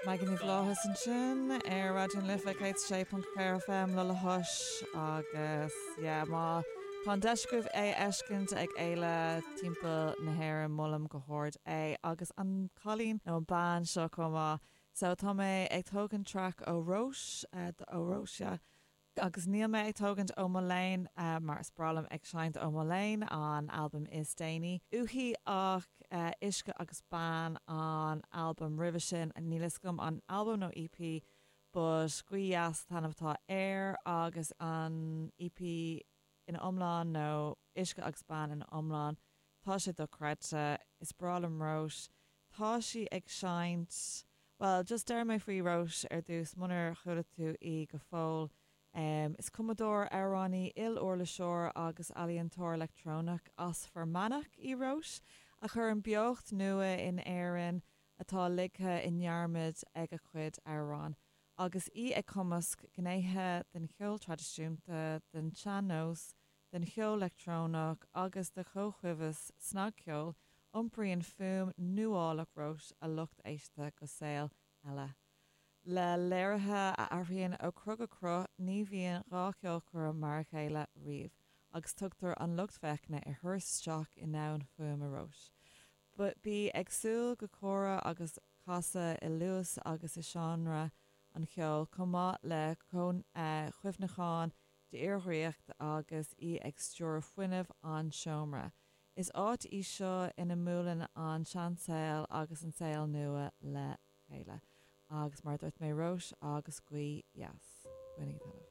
Maggie Ní Bhlátha ansin ar Raidió na Life 106.4 FM le le hOis agus yeah má tá an deis agaibh é a fheiscint ag fhéile timpeall na hÉireann molaim go hard é agus an cailín nó an bean seo chomh maith. So tá mé ag tógaint traic ó Róis ó Róis yeah Agus níl mé ag tógaint ó mo léan, mar is breá liom ag seinnt ó mo léan, an albam is déanaí uaithi, ach Uisce agus Bean an albam roimhe sin, níl fhios agam an albam nó EP, but Gaoth Dheas an t-ainm atá air, agus an EP ina iomlán nó Uisce agus Bean ina iomlán, tá sé dochreidte, is breá liom Róis, tá sí ag seinnt. Bhuel, just déarfaidh mé faoi Róis ar dtús, munar chuala tú í go fóill. Is cumadóir, amhránaí, il-uirliseoir agus ealaíontóir leictreonach as Fear Manach í Róis, a chuireann beocht nua in Éirinn atá ligthe i ndearmad ag a cuid amhrán. Agus í ag cumasc gnéithe den cheol traidisiúnta, den tsean-nós, den cheol leictreonach agus de chomhchuibheas snagcheoil, iompraíonn fuaim nuálach Róis a lucht éisteachta go saol eile. Le léirithe a athraíonn ó chruth go cruth, ní bhíonn dá cheolchoirm mar a chéile riamh, agus tugtar an lucht féachana ar thuras isteach i ndomhan fuaime Róis. Bí ag súil go comhrá agus casadh i luas agus i seánra an cheoil, chomh maith le cuimhneacháin d'fhíordhraíocht agus í ag stiúradh fuinneamh an tseomra. Is áit í seo ina mbuaileann an seansaol agus an saol nua le chéile. Agus mar a dúirt mé, Róis agus Gaoth Dheas. Bainigí taitneamh.